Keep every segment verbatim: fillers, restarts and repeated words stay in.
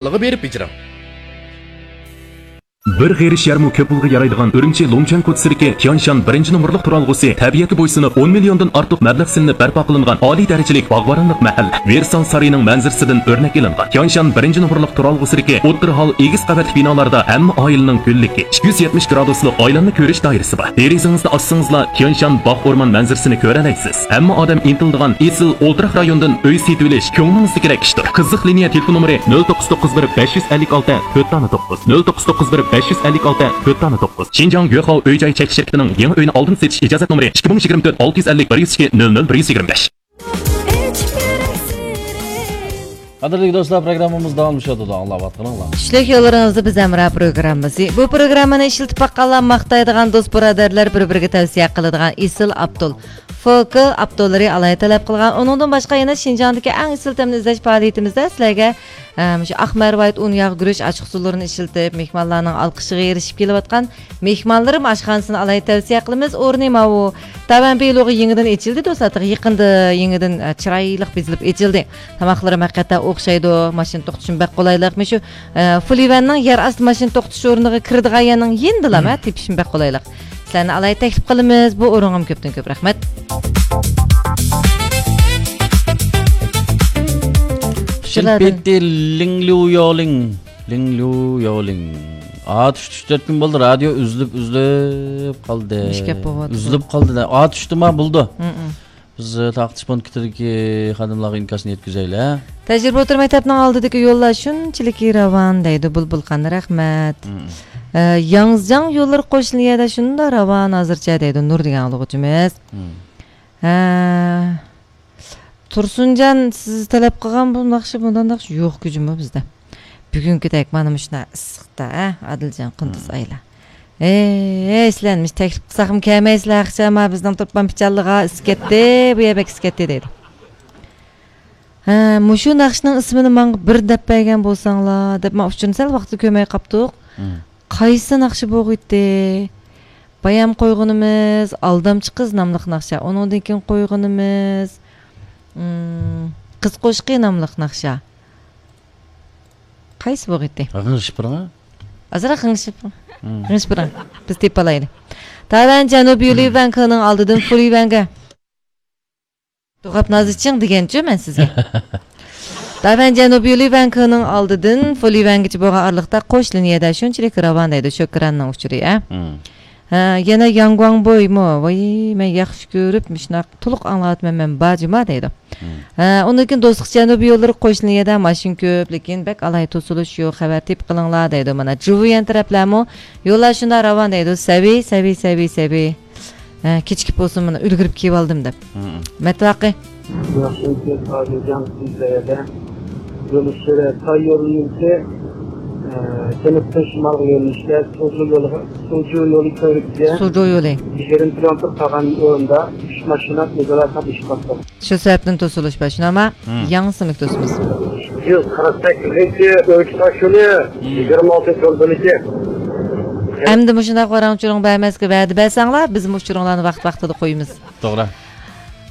بېرىپ بېجىرىڭ. بىر غېرىش يەرمۇ كۆپ پۇلغا يارايدىغان ئۈرۈمچى لۇڭچۈەن كوچىسىدىكى تيانشان بىرىنچى نومۇرلۇق تۇرالغۇسى تەبىئەتكە بويسۇنۇپ، ئون مىليوندىن ئارتۇق مەبلەغ سېلىنىپ بەرپا قىلىنغان ئالىي دەرىجىلىك باغۋەنلىك مەھەللە. ۋېرسال سارىيىنىڭ مەنزىرىسىدىن ئۆرنەك ئېلىنغان تيانشان بىرىنچى نومۇرلۇق تۇرالغۇسىدىكى ئوتتۇرا ھال ئېگىز قەۋەتلىك بىنالاردا ھەممە ئائىلىنىڭ گۈللۈكى، ئىككى يۈز يەتمىش گرادۇسلۇق ئايلانما كۆرۈش دائىرىسى بار. دېرىزىڭىزنى ئاچسىڭىزلا، تيانشان باغ ئورمان مەنزىرىسىنى كۆرەلەيسىز. ھەممە ئادەم ئىنتىلىدىغان ئېسىل ئولتۇراق رايوندىن ئۆي سېتىۋېلىش كۆڭلىڭىزدىكىدەك ئىشتۇر. قىزىق لىنىيە تېلېفون نومۇرى: نۆل توققۇز توققۇز بىر بەش يۈز ئەللىك ئالتە تۆت دانە توققۇز، نۆل توققۇز توققۇز بىر بەش يۈز ئەللىك ئالتە تۆت دانە توققۇز. شىنجاڭ گۆخاۋ ئۆي جاي چەكلىك شىركىتىنىڭ يېڭى ئۆينى ئالدىن سېتىش ئىجازەت نومۇرى: ئىككى مىڭ يىگىرمە تۆت ئالتە يۈز ئەللىك بىر يۈز ئىككى نۆل نۆل بىر يۈز يىگىرمە بەش. قەدىرلىك دوستلار، پروگراممىمىز داۋاملىشىۋاتىدۇ، ئاڭلاۋاتقىنىڭلار. چۈشلۈك يوللىرىڭىزدا بىز ھەمراھ پروگراممىسى. بۇ پروگراممىنى ئىشلىتىپ باققانلار ماختايدىغان، دوست بۇرادەرلەر بىر-بىرىگە تەۋسىيە قىلىدىغان ئېسىل ئاپتول. فوكل ئاپتوللىرى ئالاھىدە تەلەپ قىلغان. ئۇنىڭدىن باشقا يەنە شىنجاڭدىكى ئەڭ ئېسىل تەمنى ئىزدەش پائالىيىتىمىزدە سىلەرگە، ئە، مۇشۇ ئاق مەرۋايىت ئۇن ياغ گۈرۈچ ئاچچىقسۇلىرىنى ئىشلىتىپ، مېھمانلارنىڭ ئالقىشىغا ئېرىشىپ كېلىۋاتقان مېھمانلىرىم ئاشخانىسىنى ئالاھىدە تەۋسىيە قىلىمىز. ئورنى ماۋۇ تاۋەن بىلوغى يېڭىدىن ئېچىلدى، دوستلار. يېقىندا يېڭىدىن، ئە، چىرايلىق بېزىلىپ ئېچىلدى. تاماقلىرىمۇ ھەقىقەتەن ئوخشايدۇ. ماشىنا توختىتىشمۇ بەك قولايلىق. مۇشۇ، ئە، فۇلىۋەننىڭ يەر ئاستى ماشىنا توختىتىش ئورنىغا كىرىدىغان يەرنىڭ يېنىدىلا، ھە، تېپىشمۇ بەك قولايلىق. سىلەرنى ئالاھىدە تەكلىپ قىلىمىز. بۇ ئورۇنغىمۇ كۆپتىن كۆپ رەھمەت. شىنپېتى لىڭليۇيولىڭ. لىڭليۇيولىڭ. ئاتۇش چۈشۈپ تۆت كۈن بولدى، رادىيو ئۈزۈلۈپ، ئۈزۈلۈپ قالدى. مۇشۇ گەپ بولۇۋاتىدۇ. ئۈزۈلۈپ قالدى. ئاتۇشتىما بولدى. ھمم. بىز تارقىتىش پونكىتىدىكى خانىملارغا ئىنكاسنى يەتكۈزەيلى. تەجرىبە ئوتتۇرا مەكتەپنىڭ ئالدىدىكى يوللار شۇنچىلىكى راۋان دەيدۇ بۇلبۇل خان، رەھمەت. مم. ئە، ياڭزىجاڭ يوللىرى قوشنا يەردە شۇنداق راۋان ھازىرچە دەيدۇ نۇر دېگەن ئاڭلىغۇچىمىز. مم. ھە. تۇرسۇنجان، سىز تەلەپ قىلغان بۇ ناخشا، بۇنداق ناخشا يوق جۇمۇ بىزدە. بۈگۈنكىدەك مانا مۇشۇنداق ئىسسىقتا، ھە، ئادىلجان، قۇندۇز مم. ئايلار. ھەي، ھەي، سىلەرنى مۇشۇ تەكلىپ قىلساقمۇ كەلمەيسىلەر، ئاخشام ھە، بىزنىڭ تۇرپان پىچانلىقى ئىسسىپ كەتتى، بۇ يەر بەك ئىسسىپ كەتتى دەيدۇ. ھە، مۇشۇ ناخشىنىڭ ئىسمىنى ماڭا بىر دەپ بەرگەن بولساڭلار، دەپ مەن ئۇچۇرنى سەل ۋاقتىدا كۆرمەي قاپتۇق. مم. قايسى ناخشا بولغىيتتى؟ بايام قويغىنىمىز ئالدامچى قىز ناملىق ناخشا، ئۇنىڭدىن كېيىن قويغىنىمىز، مم، قىز قوشىقى ناملىق ناخشا. قايسى بولغىيتتى؟ غىڭشىپ بېرىڭ. ئازراق غىڭشىپ، مم. غىڭشىپ بېرىڭ. بىز تېپىپ ئالايلى. تاۋەن جەنۇبىي يولى ۋەنكىنىڭ ئالدىدىن فۇلى ۋەنگە. دوغاپ نازىچىڭ دېگەنچۇ مەن سىزگە. داۋەن جەنۇبىي يولى ۋەنكىنىڭ ئالدىدىن فۇلى ۋەنگىچە بولغان ئارىلىقتا قوش لىنىيەدە شۇنچىلىك راۋان دەيدۇ شۆكراننىڭ ئۇچۇرى، ھە؟ مم. ھە، يەنە ياڭگۇاڭبويمۇ؟ ۋاي، مەن ياخشى كۆرۈپ مۇشۇنداق تولۇق ئاڭلاۋاتىمەن مەن، باجىما دەيدۇ. مم. ھە، ئۇندىن كېيىن دوستلۇق جەنۇبىي يوللىرى قوش لىنىيەدە ماشىنا كۆپ، لېكىن بەك ئالاھىدە توسۇلۇش يوق، خەۋەر تېپىپ قېلىڭلار دەيدۇ. مانا جۇۋيەن تەرەپلەرمۇ يوللار شۇنداق راۋان دەيدۇ، سەۋىي، سەۋىي، سەۋىي، سەۋىي. ھە، كېچىكىپ بولسۇن، مانا ئۈلگۈرۈپ كېلىۋالدىم دەپ. مم. مەتۋاقى. ياخشى، ئۆتكەن ئادىلجان سىزلەردە يۆنىلىشلىرى تاي يولى يۈرۈشى، ئە، جەنۇبتىن شىمالغا يۆنىلىشتە سۇجۇ يولىغا، سۇجۇ يولى كۆۋرۈكىگە سۇجۇ يولى. يىگىرمە كىلومېتىر قالغان ئورۇندا ئۈچ ماشىنا ئۆزئارا توقۇنۇشۇپ قاپتۇ. شۇ سەۋەبتىن توسۇلۇش بار، شۇنداقمۇ؟ مم. ياڭزىسىمۇك توسىمىز. يۈز قىرىق سەككىزىنچى ئۆرۈك تاش يولى، مم. يىگىرمە ئالتىنچى يول بۆلىكى. ئەمدى مۇشۇنداق ۋاراڭ-چۇرۇڭ بەرمەسكە ۋەدە بەرسەڭلار، بىزمۇ ئۇچۇرۇڭلارنى ۋاقىت-ۋاقتىدا قويىمىز. توغرا.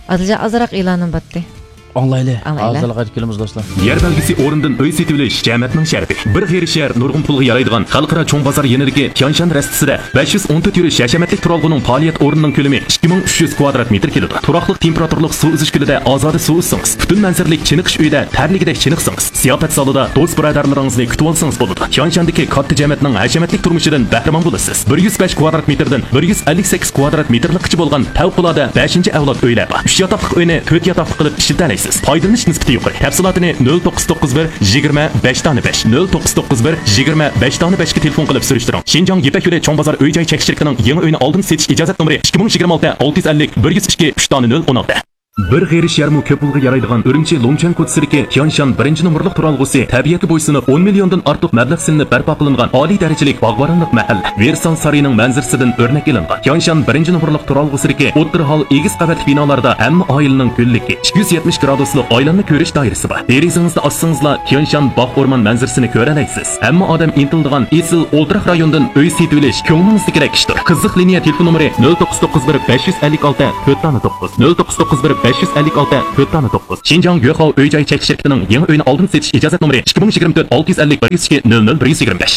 ئادىلجان، ئازراق ئېلانىم باتتى. ئاڭلايلى. ئاڭلايلى. ھازىرلا قايتىپ كېلىمىز، دوستلار. يەر بەلگىسى ئورنىدىن ئۆي سېتىۋېلىش جەمەتنىڭ شەرىپى. بىر غېرىش يەر نۇرغۇن پۇلغا يارايدىغان خەلقئارا چوڭ بازار يېنىدىكى تيانشان رەستىسىدە بەش يۈز ئون تۆت يۈرۈش ھەشەمەتلىك تۇرالغۇنىڭ پائالىيەت ئورنىنىڭ كۆلىمى ئىككى مىڭ ئۈچ يۈز كۋادرات مېتىر كېلىدۇ. تۇراقلىق تېمپېراتۇرىلىق سۇ ئۈزۈش كۆلىدە ئازادە سۇ ئۈزسىڭىز، پۈتۈن مەنزىرىلىك چېنىقىش ئۆيىدە تەرلىگۈدەك چېنىقسىڭىز، زىياپەت زالىدا دوست بۇرادەرلىرىڭىزنى كۈتۈۋالسىڭىز بولىدۇ. تيانشاندىكى كاتتا جەمەتنىڭ ھەشەمەتلىك تۇرمۇشىدىن بەھرىمەن بولىسىز. بىر يۈز بەش كۋادرات مېتىردىن بىر يۈز ئەللىك سەككىز كۋادرات مېتىرلىققىچە بولغان پەۋقۇلئاددە بەشىنچى ئەۋلاد ئۆيلەر بار. ئۈچ ياتاقلىق ئۆينى تۆت ياتاقلىق قىلىپ ئىشلىتەلەيسىز. پايدىلىنىش نىسبىتى يۇقىرى. تەپسىلاتىنى نۆل توققۇز توققۇز بىر يىگىرمە بەش دانە بەش، نۆل توققۇز توققۇز بىر يىگىرمە بەش دانە بەشكە تېلېفون قىلىپ سۈرۈشتۈرۈڭ. شىنجاڭ يىپەك يولى چوڭ بازار ئۆي جاي چەكلىك شىركىتىنىڭ يېڭى ئۆينى ئالدىن سېتىش ئىجازەت نومۇرى ئىككى مىڭ يىگىرمە ئالتە ئالتە يۈز ئەللىك بىر يۈز ئىككى ئۈچ دانە نۆل ئون ئالتە. بىر غېرىش يەرمۇ كۆپ پۇلغا يارايدىغان ئۈرۈمچى لۇڭچۈەن كوچىسىدىكى تيانشان بىرىنچى نومۇرلۇق تۇرالغۇسى تەبىئەتكە بويسۇنۇپ، ئون مىليوندىن ئارتۇق مەبلەغ سېلىنىپ بەرپا قىلىنغان ئالىي دەرىجىلىك باغۋەنلىك مەھەللە. ۋېرسال سارىيىنىڭ مەنزىرىسىدىن ئۆرنەك ئېلىنغان تيانشان بىرىنچى نومۇرلۇق تۇرالغۇسىدىكى ئوتتۇرا ھال ئېگىز قەۋەتلىك بىنالاردا ھەممە ئائىلىنىڭ گۈللۈكى، ئىككى يۈز يەتمىش گرادۇسلۇق ئايلانما كۆرۈش دائىرىسى بار. دېرىزىڭىزنى ئاچسىڭىزلا، تيانشان باغ ئورمان مەنزىرىسىنى كۆرەلەيسىز. ھەممە ئادەم ئىنتىلىدىغان ئېسىل ئولتۇراق رايوندىن ئۆي سېتىۋېلىش كۆڭلىڭىزدىكىدەك ئىشتۇر. قىزىق لىنىيە تېلېفون نومۇرى: نۆل توققۇز توققۇز بىر بەش يۈز ئەللىك ئالتە تۆت دانە توققۇز، نۆل توققۇز توققۇز بىر بەش يۈز ئەللىك ئالتە، تۆت دانە توققۇز. شىنجاڭ يۆخاۋ ئۆي جاي چەكلىك شىركىتىنىڭ يېڭى ئۆينى ئالدىن سېتىش ئىجازەت نومۇرى ئىككى مىڭ يىگىرمە تۆت، ئالتە يۈز ئەللىك، بىر يۈز ئىككى، نۆل نۆل، بىر يۈز يىگىرمە بەش.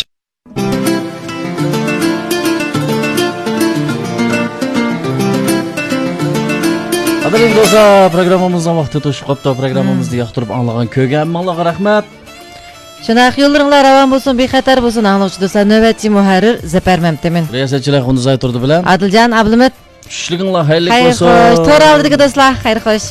قەدىرلىك دوستلار، پروگراممىمىزنىڭ ۋاقتى توشۇپ قاپتۇ. پروگراممىمىزنى ياقتۇرۇپ ئاڭلىغان، كۆرگەن ھەممىڭلارغا رەھمەت. شۇنداق، يوللىرىڭلار راۋان بولسۇن، بىخەتەر بولسۇن. ئاڭلىغۇچى دوستلار، نۆۋەتچى مۇھەررىر زەپەر مەمتىمىن. رىياسەتچىلەر خۇندىزاي تۇردى بىلەن ئادىلجان ئابلىمىت. چۈشلۈكۈڭلار خەيرلىك بولسۇن. خەير خوش. تور ئالدىدىكى دوستلار، خەير خوش.